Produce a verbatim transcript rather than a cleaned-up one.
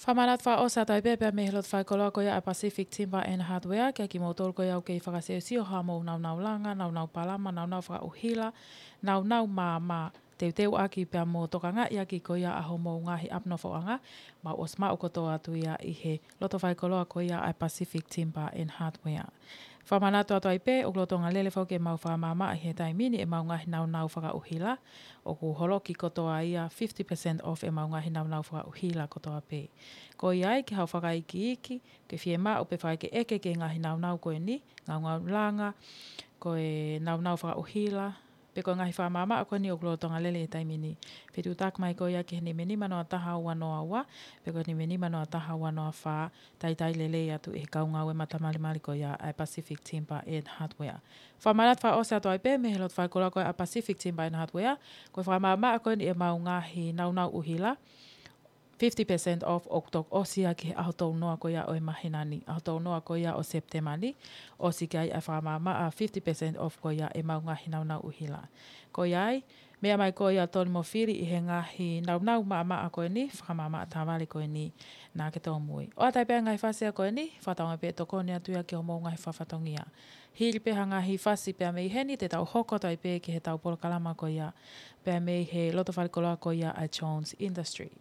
Fakamanatu fakaʻosi atu ai pē pea mei he loto faikoloa ko ia ʻa e Pacific Timber and Hardware, kiate kimoutolu ko ia ʻoku kei fakasiosio haʻamou naunau langa, naunau palama, naunau fakaʻuhila, naunau maama, teuteuʻaki pea mo tokangaʻi ʻaki ko ia ʻa hoʻomou ngaahi ʻapi nofoʻanga, mau ʻosi maʻu kotoa atu ia ʻi he loto faikoloa ko ia ʻa e Pacific Timber and Hardware. Fakamanatu atu ai pē, ʻoku lolotonga lele foki ʻemau fakamaama ʻi he taimi ni ʻemau ngaahi naunau fakaʻuhila, ʻoku holoki kotoa ia fifty percent off ʻemau ngaahi naunau fakaʻuhila kotoa pē. Ko ia ai ke haʻu fakaikiiki, ke fiemaʻu pe fakaʻekeʻeke ki he ngaahi naunau ko eni, ngaungaulanga, ko e naunau fakaʻuhila, pe ko e ngaahi fakamaama ko eni ʻoku lolotonga lele ʻi he taimi ni. Fetuʻutaki mai ko ia ki he nima nima noa taha ua noa ua, pe ko e nima nima noa taha ua noa fā, talitali lelei atu ʻe he kau ngāue matamalimali ko ia ʻa e Pacific Timber and Hardware. Fakamanatu fakaʻosi atu ai pē mei he loto faikoloa ko ia ʻa e Pacific Timber and Hardware, ko e fakamaama ko eni ʻemau ngaahi naunau ʻuhila, fifty percent off ʻoku toki ʻosi ia ki he ʻaho tolu noa ko ia ʻo e māhina ni, ʻaho tolu noa ko ia ʻo Sepitema ni, ʻosi ki ai ʻa e fakamaama ʻa fifty percent off ko ia ʻemau ngaahi naunau ʻuhila. Ko ia ai, meʻa mai ko ia Tony mo Fili ʻi he ngaahi naunau maama ko eni, fakamaama ʻa e tāvale ko eni, naʻa ke tōmui. ʻOatu ai pē ʻa e ngaahi fasi ko eni, fakatauange pē ʻe tokoni atu ia ki hoʻomou ngaahi fatongia. Hili pē ha ngaahi fasi pea mei heni te tau hoko atu ai pē ki heʻetau polokalama ko ia, pea mei he loto faikoloa ko ia ʻa e Jones Industry.